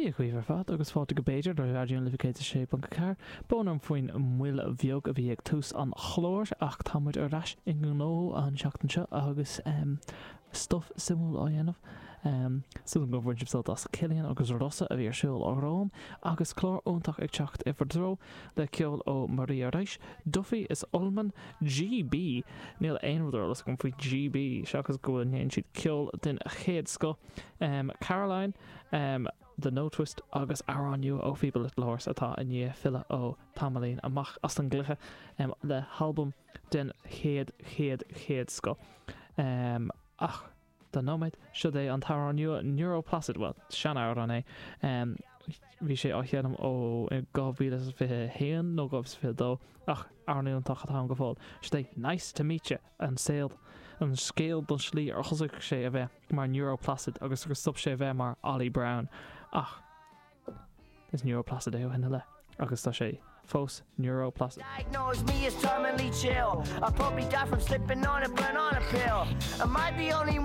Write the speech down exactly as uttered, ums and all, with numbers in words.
Dia dhaoibh ar fad agus fáilte go B'fhéidir ar Raidió na Life céad a sé ponc a ceathair. Brón orm faoin moill bheag a bhí ag tús an chláir ach tá muid ar ais i ngnó an seachtain seo agus um, stuff suimiúil á dhéanamh. Um, Súil gur bhain sibh sult as Cillian agus Rossa a bhí ar siúl romham agus clár iontach ag teacht i bhur dtreo le ceol ó Maria Reis, Duffy is Ullman, GB Níl aon rud ar eolas agam faoi GB seachas go bhfuil ndéanann siad ceol den chéad scoth. Um, Caroline, um, The Notwist agus amhrán nua ó Feeble Little Horse atá i ndiaidh filleadh ó tamaillín amach as an gcluiche um, le halbam den chéad chéad chéad scoth. Um, ach don nóiméad seo é an t-amhrán nua Neuroplacid well seanamhrán é um, bhí sé á sheinm ó dhá mhíle fiche haon nó dhá fiche dó ach amhrán iontach atá go fóill. Seo é nice to meet you an saol an scéal don slí ar thosaigh sé a bheith mar Neuroplacid agus gur stop sé a bheith mar Ollie Brown ach is Neuroplacid é ó shin i leith agus tá sé fós Neuroplacid. Diagnose me as terminally chill. I probably die from slipping on a banana peel. Am I the only one